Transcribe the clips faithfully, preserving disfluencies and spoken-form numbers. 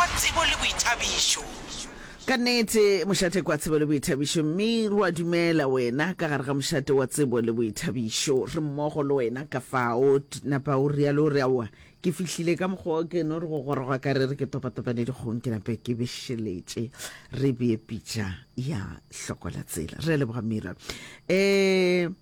wa tsebo le boithabišo. Ka nnete, mošate kwa tsebo le boithabišo, mme ro a dumela wena ka gare ga mošate wa tsebo le boithabišo. Re mmogo le wena ka fao. Napa o rialo o re, Aowa, ke fihlile ka mokgwa o ke no re go goroga ka re re ke topatopane dikgong ke nape ke bešeletše re bee pitša ya hloko la tsela. Re a leboga Mira. Um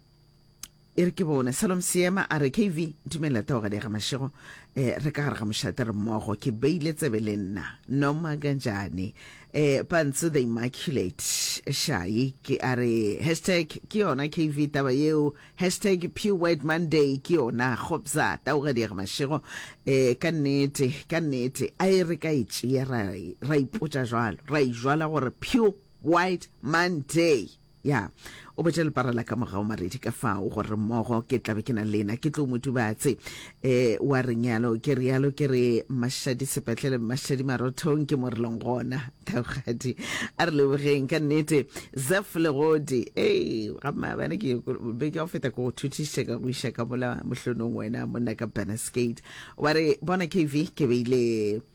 E re ke bone. Salom Seema a re, K V, dumela Taogadi ya ga Mashego. Eh, re ka gare ga mošate re mmogo. Ke beile tsebe le nna. Noma kanjani. Eh, Pantsu the Immaculate Shai ke a re, hashtag ke yona K V taba yeo, hashtag Pure White Monday ke yona. Kgopza, Taogadi ya ga Mashego. Eh, ka nnete, ka nnete, a e re ka e tšea ra, ra ipotša jwalo, ra e jwala gore Pure White Monday. Ya, o botša lepara la ka mogau Maredi ka fao gore mmogo ke tla be ke na le lena, ke tlo mo dubatse. E, wa reng yalo? Ke realo ke re Mmašadi sepetlele, Mmašadi marothong ke mo re leng gona. Taugadi, a re lebogeng ka nnete. Zeph Legodi, ei, ga maabane ke beke ya go feta ke go thuthišitše ka go iša ka mola mohlonong wena monna ka Bannerskate. Wa re, bona K V, ke beile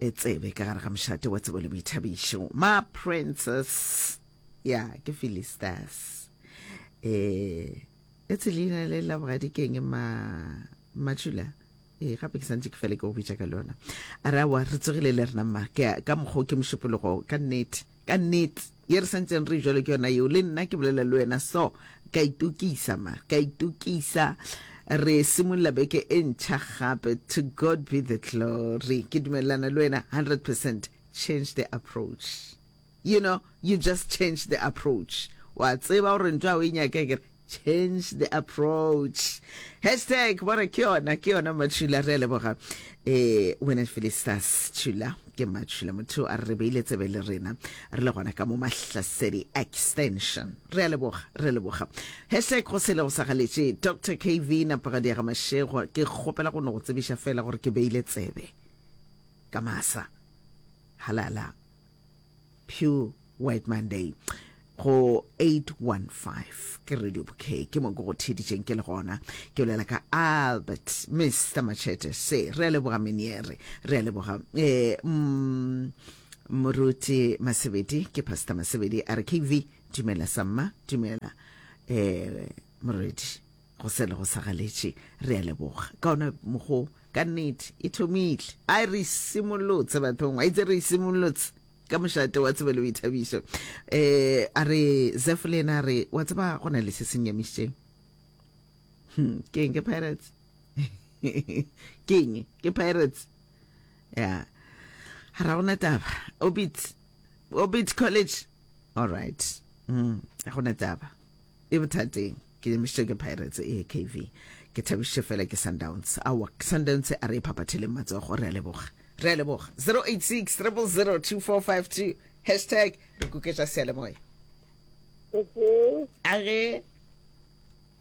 e tsebe ka gare ga mošate wa tsebo le boithabišo. Ma Princess. Ya ke Philistas. Eh etse leina le la bogadi keng ma Matšhula? Ee, gape ke santše ke fele ke go bitša ka lona. A re aowa re tsogile le rena mma. Ke ka mokgwa ke mošupologo ka nnete. Ka nnete. Ye re santseng re jwalo ke yona yeo le nna ke bolela le wena so ka itokisa ma ka itokisa re simolola beke e ntšha gape to God be the glory ke dumelelana le wena hundred percent change the approach. You know, you just change the approach. Wa tseba gore ntho a o e nyake ke change the approach. Hashtag bona ke yona, ke yona Matšhula, re a leboga. Eh, wena Felicitas Tšhula, ke Matšhula motho a re beile tsebe le rena. Re le gona ka mo Mahlasedi Extension. Re a leboga, re a leboga. Hashtag go sele go sa galetše. Doctor K V Napagadi ya ga Mashego, ke kgopela go no go tsebiša fela gore ke beile tsebe ka masa. Halala. Pure White Monday go eight one five ke Radio Bouquet ke mo ke go theeditšeng ke le gona ke bolela ka Albert Mister Machete se re a leboga Meniere re a leboga eh mm, Moruti Masebedi ke Pastor Masebedi a re K V dumela samma dumela eh morwedi go sele go sa galetše re a leboga ka ona mogo ka nnete e thomile a re simolotse bathong a itse re simolotse ka mošate wa tsebo le boithabišo um a re Zef le ena a re wa tseba go na le se se nyamišitšeng hmm, ke eng ke Pirates ke eng ke Pirates ya ga ra gona taba Obit Obit College all right mm, ga gona taba e bothateng ke nyamišitše ke Pirates e K V ke thabišitše fela ke Sundowns aowa Sundowns a re e phaphatheleng matsogo re a leboga re a leboga zero eight six zero zero zero two four five two hashtag re kuketša seyalemoya a ge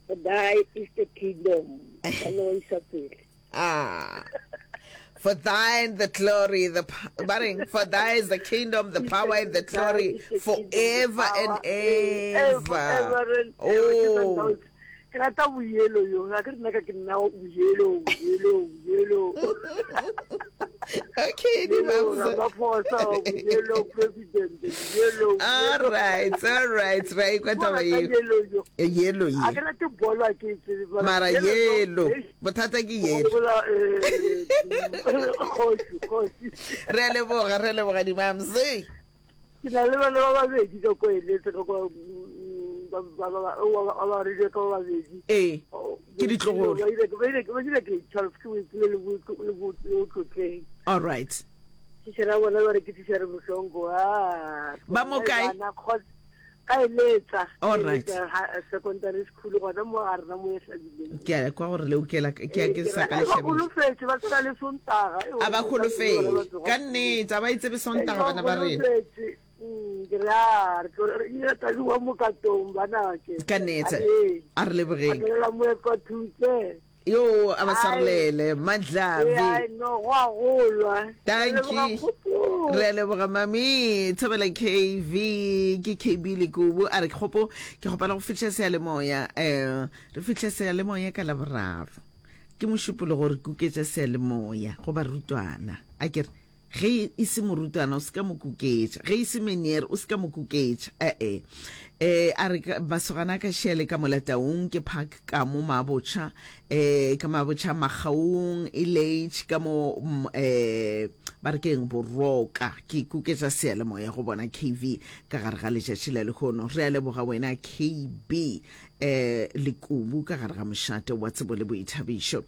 Thy is the kingdom. Ba no isa pele. Ah. For thine the glory, the ba reng, for thy is the kingdom, the power and the glory forever and ever. Oh. Ke rata boyelo yo ga ke rena ka ke nna boyelo boyelo boyelo. Okay, di Ramaphosa boyelo president boyelo. All right, all right. Ra ikwa taba yeo. Yelo ye. A ke rate bolo a ke tsebe. Mara yelo. Bothata ke yelo. Kgoši kgoši. Re a leboga, re a leboga di mamse. Ke na le bana ba babedi ka ko eletse ka kwa ba ba ba ba ba rile ka ba babedi. Ee. Ke ditlogolo. Ba ile ba ile ba ile ke twelve ke boipile le bo le bo le tlotleng. All right. Teacher bona ba re ke teacher Mohlongo ah. Ba mo kae? Ka eletsa. All right. Secondary school gona mo ga rena mo e hlabileng. Ke a kwa gore le okela ke a ke sa ka le Ba holofetse ba tsena le Sontaga. A ba holofetse. Ka nnete a ba itsebe Sontaga bana ba rena. Ke re a re tlo re ile tla wa mo katong bana ke. Ka nnete. A re lebogeng. A mo epa thutse. Yo a ba swarelele Madlavi. Ai no go a golwa. Thank you. Re a leboga mami Thobela K V ke K B Lekubu a re kgopo ke kgopela go fihla seyalemoya eh re fihle seyalemoya ka Laboraro ke mošupologo re kuketša seyalemoya go barutwana a ke re Ge e se morutwana o se ka mo kuketša, ge e se meneer o se ka mo kuketša, e-e. E, a re masogana a ka šele ka mola Taung ke park ka mo Mabotšha, e, ka Mabotšha Makgaung, Elage ka mo e, ba re keng Boroka. Ke kuketša seyalemoya go bona K V ka gare ga letšatši la lehono. Re a leboga wena K B eh Lekubu ka gare ga mošate wa tsebo le boithabišo.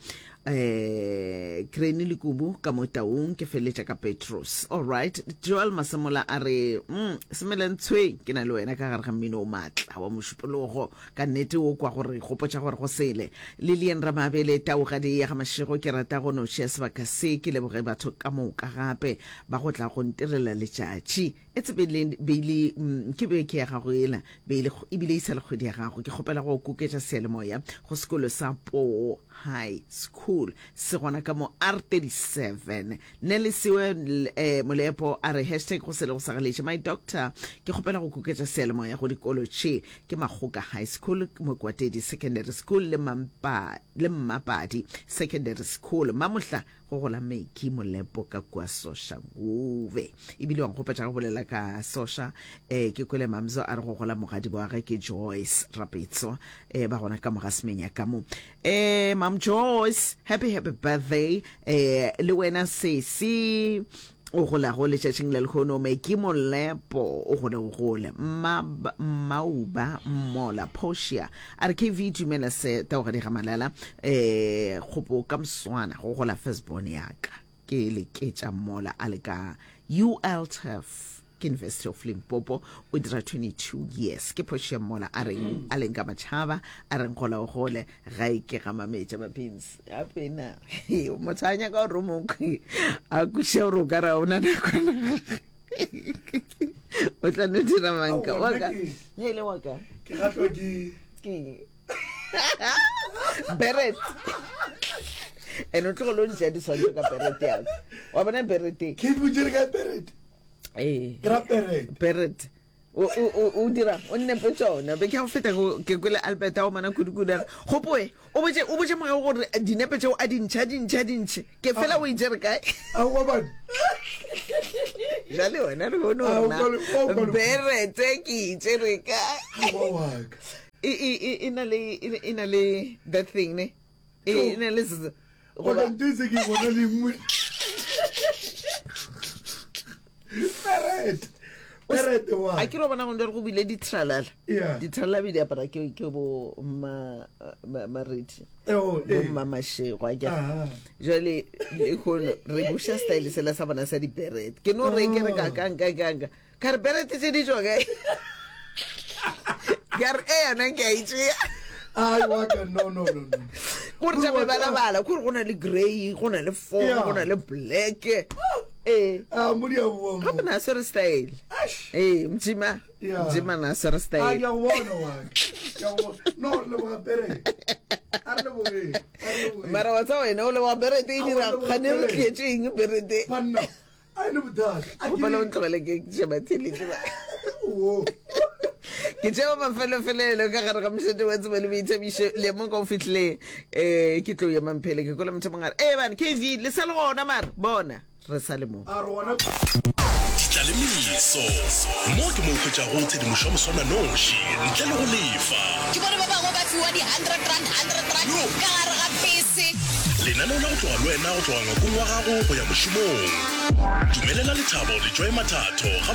Eh Granny Lekubu ka mo Taung ke feletša ka Petrus. All right, Joel Masemola a re mm, semelentshwe ke na le wena ka gare ga mmino o matla wa mošupologo ka nnete o kwa gore gopotša gore go sele. Lilian Ramabele Taugadi ya ga Mashego ke rata go no tšea sebaka se ke leboge batho ka moka gape ba go tla go ntirela letšatši. E tsebele beile ke be ke ya gago ela beile ebile e sa le kgwedi ya gago. Ke kgopela go koketša seyalemoya go sekolo sa Poo High School se gona ka mo R thirty-seven. Nelisiwe eh, Molepo a re hashtag go sele go sa galetše. My doctor ke kgopela go koketša seyalemoya go dikolo tše ke Makgoka High School, Mokwatedi Secondary School le Mampa le Mmapadi Secondary School. Mamohla go gola Meki Molepo ka kua Soshanguve. Ebile wa nkgopetša go bolela ka Sosha, eh ke kwele Mamzo a re go gola mogadi wa gagwe ke Joyce Rapetso, eh ba gona ka moga semenya ka mo. Eh Mam Joyce, happy happy birthday. Eh le wena sesi o golago letšatšing la lehono Meki Molepo o gole o gole. Mma Mauba Mmola Portia a re K V dumela se taogadi ga Malala eh kgopo ka mswana go gola firstborn ya ka ke leketša Mmola a le ka U L T F ke University of Limpopo o dira twenty-two years. Ke Portia Mmola a reng a leng ka matšhaba a reng gola o gole ga e ke ga mametša mapins gape na motho a nyaka gore o mokwe a kweše gore o ka ra ona nakwana o tla no dira manka Aowa, wa nna ka ke- ge e le wa ka ke gatlwa ke ke beret and o tlogele o ntšea diswantšho ka beret yaka wa bona beret e? Ke botšere ka beret. Ee. Ke ra beret. Beret. O, o, o, o dira, o nnepe tšona. Be ke a go feta ko, ke kwele Albert a o mana kudu-kudu a re, Kgopoe, o botše, o botše moya gore dinepe tšeo a di ntšhe, a di ntšhe, a di ntšhe. Ke fela o itšere kae? Aowa, bana. Jwale wena re bone Ao, gore na kwale, ao, kwale. berete ke itšere kae? Aowa, wa ka. E, e, e, e na le, e, e na le that thing, ne? E, e na le z-, Goba goba- ntho e se ke e bona le nngwe. Beret. Beret wa. A ke re bona go go bile ditralala. Yeah. Ditralala be di apara ke, ke bo ma, ma, Maredi. Oh, Bo eh. mma Mashego, a ke re. Aha. Jwale, lehono, re buša style sela sa bona sa diberet. Ke no re ke re ka, ka, ka, ka, ka. Ka re beret tše di tšwa kae? Ka re, e yona ke a e tšea. Ai, wa ka, no, no, no, no. Gore tša mebalabala, kore go na le grey, go na le four, Yeah. go na le black. Eh. Ah, mo di a boa mo. Gape na swere style. Eish. Eh, Mjima. Yeah. Mjima na swere Ah, style. ke a go bona wa ka. Ke a go bona. No, re leboga beret. A re lebogeng, a re lebogeng. Mara wa tsa wena o leboga beret e A dira o leboga gane re beret. tlietše eng beret e? Banna, a e ne bothata. A ke Gopela o re- ntlogele ke sheba thelete ba. Wo. Ke tšeo mafelofelelo ka gare ga mošate wa tsebo le boithabišo. Le mo ka o fihlile, eh, ke tlo ya mamphele, ke kwele motho mongwe a re, Eh, bana, K V, le sa le gona mare? Bona, re sa le mo. A re gona. Ditlalemeso. Mo ke mo o hwetšago tshedimošo ya moswananoši ntle le go lefa. Ke bone ba bangwe ba fiwa di-hundred rand, hundred rand ka gare ga bese. Lenaneo la go tloga le wena go tloga ngwakong wa gago go ya mošomong. Dumelela lethabo le Joy Mathatho ga